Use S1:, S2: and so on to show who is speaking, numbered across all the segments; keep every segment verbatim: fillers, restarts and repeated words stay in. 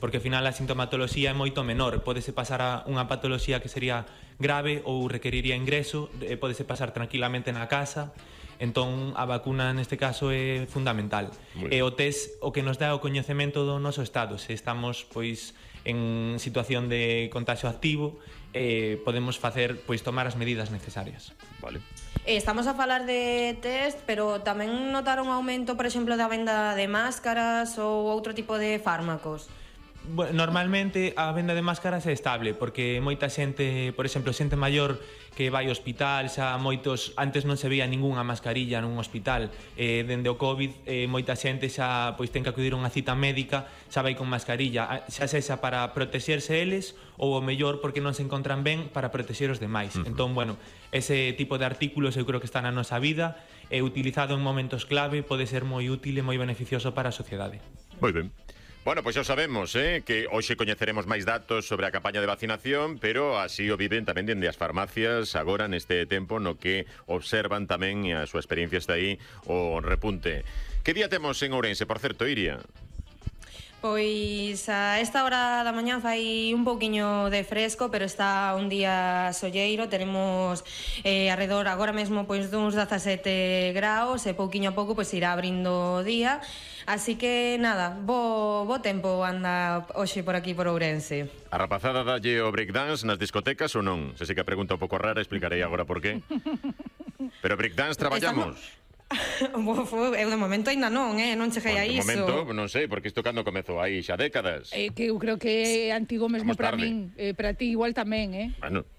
S1: porque ao final a sintomatoloxía é moito menor, pódese pasar a unha patoloxía que sería grave ou requeriría ingreso, e pódese pasar tranquilamente na casa. Entón a vacuna neste caso é fundamental. E o test o que nos dá o coñecemento do noso estado, se estamos pois en situación de contagio activo, eh, podemos facer pois tomar as medidas necesarias.
S2: Vale.
S3: Estamos a falar de test, pero tamén notaron un aumento, por exemplo, da venda de máscaras ou outro tipo de fármacos?
S1: Bueno, normalmente a venda de máscaras é estable, porque moita xente, por exemplo, xente maior que vai ao hospital, xa moitos, antes non se veía ningunha mascarilla nun hospital, eh, dende o COVID, eh, moita xente xa pois ten que acudir a unha cita médica, xa vai con mascarilla, xa sexa para protexerse eles, ou o mellor porque non se encontran ben para protexer os demais. Uh -huh. Entón, bueno, ese tipo de artículos eu creo que está na nosa vida, e utilizado en momentos clave pode ser moi útil e moi beneficioso para a sociedade.
S2: Moi ben. Bueno, pois xa sabemos, eh, que hoxe coñeceremos máis datos sobre a campaña de vacinación, pero así o viven tamén dende as farmacias agora neste tempo no que observan tamén, e a súa experiencia está aí, o repunte. Que día temos en Ourense, por certo, Iria?
S3: Pois a esta hora da mañá fai un pouquiño de fresco, pero está un día solleiro. Tenemos eh, alrededor agora mesmo pois duns dezasete graus, e pouquiño a pouco pois irá abrindo o día. Así que nada, bo, bo tempo anda hoxe por aquí por Ourense.
S2: A rapazada dalle o breakdance nas discotecas ou non? Se sei que a pregunta un pouco rara, explicarei agora por qué. Pero breakdance traballamos?
S3: Eu de momento ainda non, eh? non cheguei a iso.
S2: De momento, non sei, porque isto cando comezou aí xa décadas.
S4: Eh, que eu creo que é antigo mesmo para min, eh, para ti igual tamén, eh?
S2: Bueno,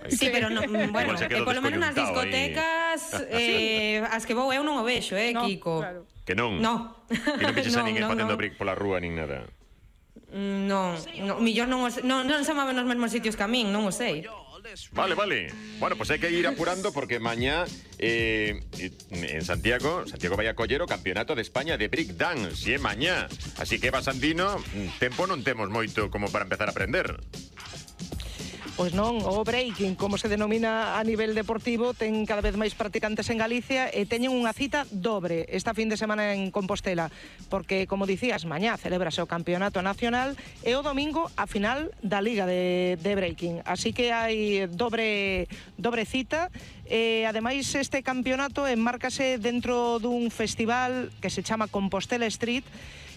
S3: sí, pero non, bueno, eh, polo menos nas discotecas eh, as que vou eu non o vexo, eh,
S4: no,
S3: Kiko.
S4: Claro.
S2: Que non?
S3: No.
S2: Que non vexes a ninguén
S3: no,
S2: facendo
S3: no.
S2: brick pola rúa nin nada.
S3: Non, no, millor non, os, non, non se moven nos mesmos sitios que a min, non o sei.
S2: Vale, vale. Bueno, pues hai que ir apurando porque mañá eh, en Santiago, Santiago vai a coller o Campeonato de España de Break Dance, e é mañá. Así que, Basandino, tempo non temos moito como para empezar a aprender.
S5: Pois non, o breaking, como se denomina a nivel deportivo, ten cada vez máis practicantes en Galicia e teñen unha cita dobre esta fin de semana en Compostela, porque, como dicías, mañá celebrase o Campeonato Nacional e o domingo a final da Liga de, de Breaking. Así que hai dobre, dobre cita. E, ademais, este campeonato enmárcase dentro dun festival que se chama Compostela Street,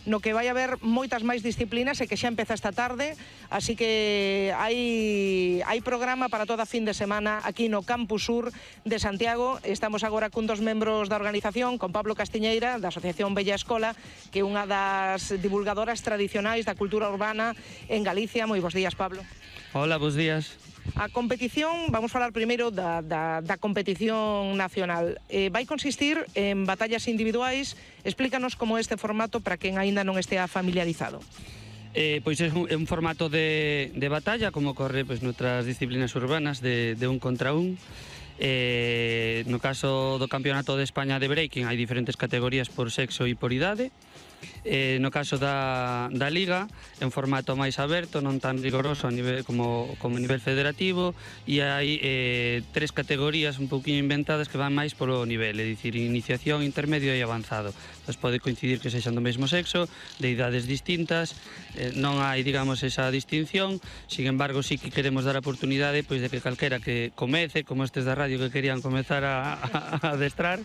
S5: no que vai haber moitas máis disciplinas e que xa empeza esta tarde, así que hai hai programa para toda a fin de semana aquí no Campus Sur de Santiago. Estamos agora cun dos membros da organización, con Pablo Castiñeira, da Asociación Bella Escola, que é unha das divulgadoras tradicionais da cultura urbana en Galicia. Moi bons días, Pablo.
S6: Hola, bons días.
S5: A competición, vamos falar primeiro da, da, da competición nacional. Eh, vai consistir en batallas individuais. Explícanos como é este formato para quen aínda non estea familiarizado.
S6: Eh, pois é un, é un formato de, de batalla, como ocorre pois, noutras disciplinas urbanas, de, de un contra un. Eh, no caso do Campeonato de España de Breaking hai diferentes categorías por sexo e por idade. Eh, no caso da, da Liga é un formato máis aberto, non tan rigoroso a nivel, como, como a nivel federativo, e hai eh, tres categorías un pouquinho inventadas que van máis polo nivel, é dicir, iniciación, intermedio e avanzado. Entón pode coincidir que sexan do mesmo sexo, de idades distintas, eh, non hai, digamos, esa distinción. Sin embargo, sí que queremos dar a oportunidade pois, de que calquera que comece, como estes da radio que querían comezar a, a, a adestrar,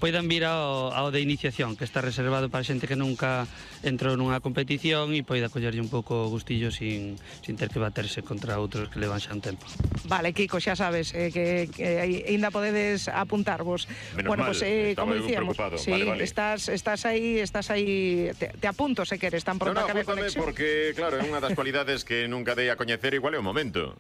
S6: poidan vir ao, ao de iniciación, que está reservado para xente que non nunca entrou nunha competición e poida collerlle un pouco o gustillo sin, sin ter que baterse contra outros que levan xa un tempo.
S5: Vale, Kiko, xa sabes eh, que, que ainda podedes apuntarvos.
S2: Menos
S5: bueno,
S2: mal,
S5: pues, eh, como dicíamos, sí,
S2: vale, vale.
S5: Estás, estás aí, estás aí, te, te apunto se queres, tan pronto
S2: no, no,
S5: acabe a conexión.
S2: Porque, claro, é unha das cualidades que nunca dei a coñecer, igual é o momento.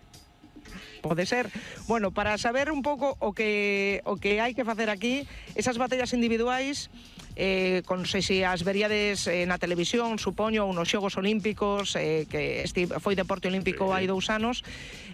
S5: Pode ser. Bueno, para saber un pouco o que o que hai que facer aquí, esas batallas individuais, eh, con sei se as veríades eh, na televisión, supoño, ou nos Xogos Olímpicos, eh, que este foi deporte olímpico hai dous anos,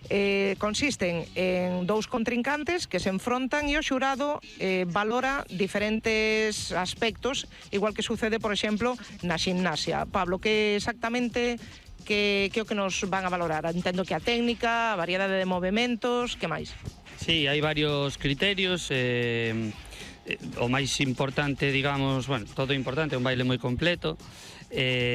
S5: eh, consisten en dous contrincantes que se enfrontan e o xurado eh, valora diferentes aspectos, igual que sucede, por exemplo, na ximnasia. Pablo, que exactamente que, que o que nos van a valorar? Entendo que a técnica, a variedade de movementos, que máis?
S6: Sí, hai varios criterios. Eh, eh, o máis importante, digamos, bueno, todo importante, é un baile moi completo. Eh,